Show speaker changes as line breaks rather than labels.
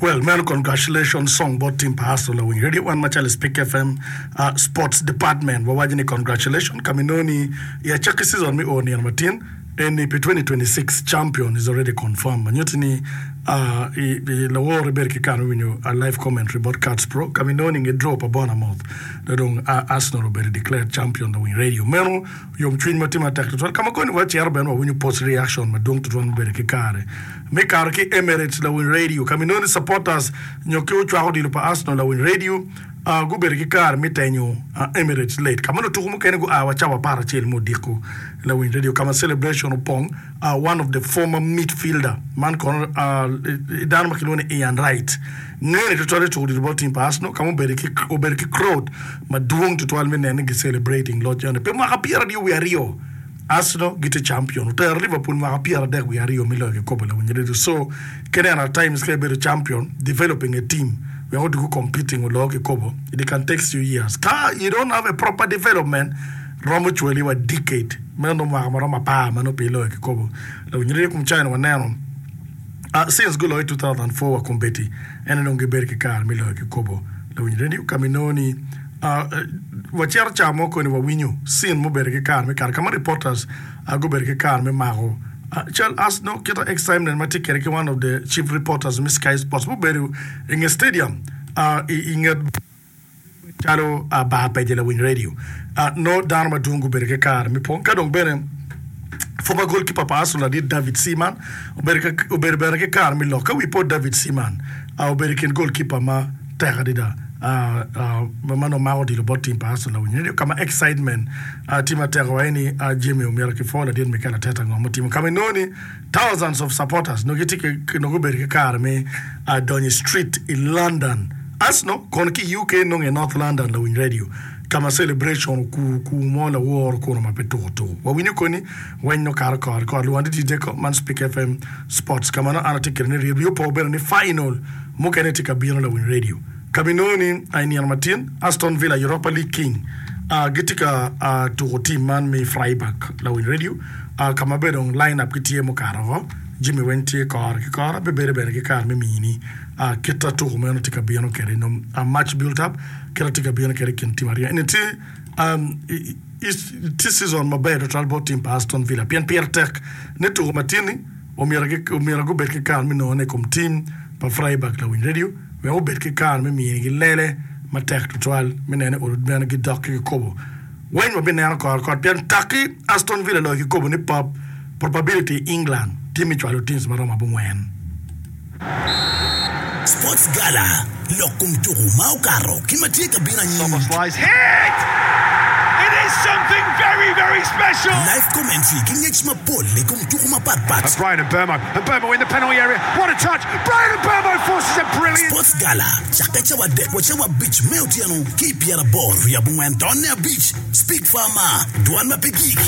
Well meno congratulations song bot team pa Arsenal lawiny radio wan macalo Speak FM sports department wawaco ni congratulations ka minongo ni i acakki season me o nino matin eni pi 2026 champion is already confirmed ma nyutti ni i lawor ibedo ki kare me winyo live commentary bot Cats Pro ka minongo ni nge draw pa Bournemouth dong Arsenal obedo declared champion lawiny radio meno Yomcwiny ma tye matek tutwal ka ma koni wacito bene wawinyo post reaction madwong tutwal mubedo ki kare me kato ki Emirates lawiny radio ka ma inongo ni supporters nyo ki ocwako odilo pa Arsenal lawiny radio gubedo ki kare me tenyo Emirates late ka ma lutuku mukene gua wa cawa aparacel me odiko lawiny radio ka ma celebration opong one of the former midfielder man kono dano ma kilwongo ni Ian Wright ngene tutwal i tuko odilo bot team pa Arsenal ka ma obedo ki crowd madwong tutwal me neno ni gi celebrating loc eno pi mwaka pyeraryo wiye aryo Arsenal gitye champion otero Liverpool mwaka pyeradek wiye aryo me loyo kikopo lawiny redio so ki neno at times ka ibedo champion developing a team wek odugu competing olo kikopo it can takes you years ka you don't have a proper development romo cwali wa decade meno nongo mwaka maromo apar ma nongo pe iloyo kikopo lawiny redio kom cawa ni waneno Since guloyo i 2004 wa kombeddi, en aye dong gibedo ki kare me loyo kikopo. Lawiny radio ka ma inongo ni wacito ca mo koni wawinyo scene mubedo ki kare me kato ka ma reporters gubedo ki kare me mako cal as nongo kita excitement ma tye kwede ki one of the chief reporters me Sky Sports mubedo i nge stadium i nget Calo bar peje lawiny radio, nongo dano madwong gubedo ki kare me pwony. Ka dong bene former goalkeeper pa Arsenal ladit David Seaman obedo bene ki kare me lok. Ka wi po David Seaman obedo i kin goalkeeper ma tek adada ma nongo mako odilo bot team pa Arsenal lawiny radio ka ma excitement tye matek wa ni Jimmy omyero kipwo ladit Mikel Arteta ngo mutimo ka ma inongo ni Thousands of supporters nongo gitye ki nongo gubedo ki kare me donyo i street i London. Arsenal kono ki i UK nongo i North London lawiny radio ka ma celebration okur kur mo laworo kunu ma pe tuko tuko. Wawinyo koni weny nongo kato kore kore luwan dit ko man Speak FM Sports ka ma nongo an atye kwede ni ryeb opo bene ni final mukene tye ka bino lawiny radio ka ma inongo ni i nino matin Aston Villa Europa League King gitye ka tuko team man me Freiburg lawiny radio. Ka ma bene dong line up gitye mukato woko, jami weng tye kore ki kore. Bibedo bene ki kare me mini kit ma tuko meno tye ka bino kwede nyo match built up kit ma tye ka bino kwede i kin tim aryo eni. Tye tye season maber tutwal bot tim pa Aston Villa pien pire tek ni tuko ma tye-ni omyero gubed ki kare me nongone i kom tim pa Freiburg lawiny radio wek obed ki kare me minigi lele matek tutwal me neno ni olo bene gidok ki kikopo. Weng wabineno kore kot pien taki Aston Villa loyo kikopo ni pop probability i England tye me cwalo teams maromo abongwen.
Sports Gala, Lok kom tuku ma okato ki ma tye ka bino anyim. Live commentary ki ngec mapol i kom tuku mapat pat. Sports Gala cakke cawa adek wa cawa abic me otyeno ki i pyeraboro wiye abongwen tonne abic. Speak Farmer, Dwan ma pe gik.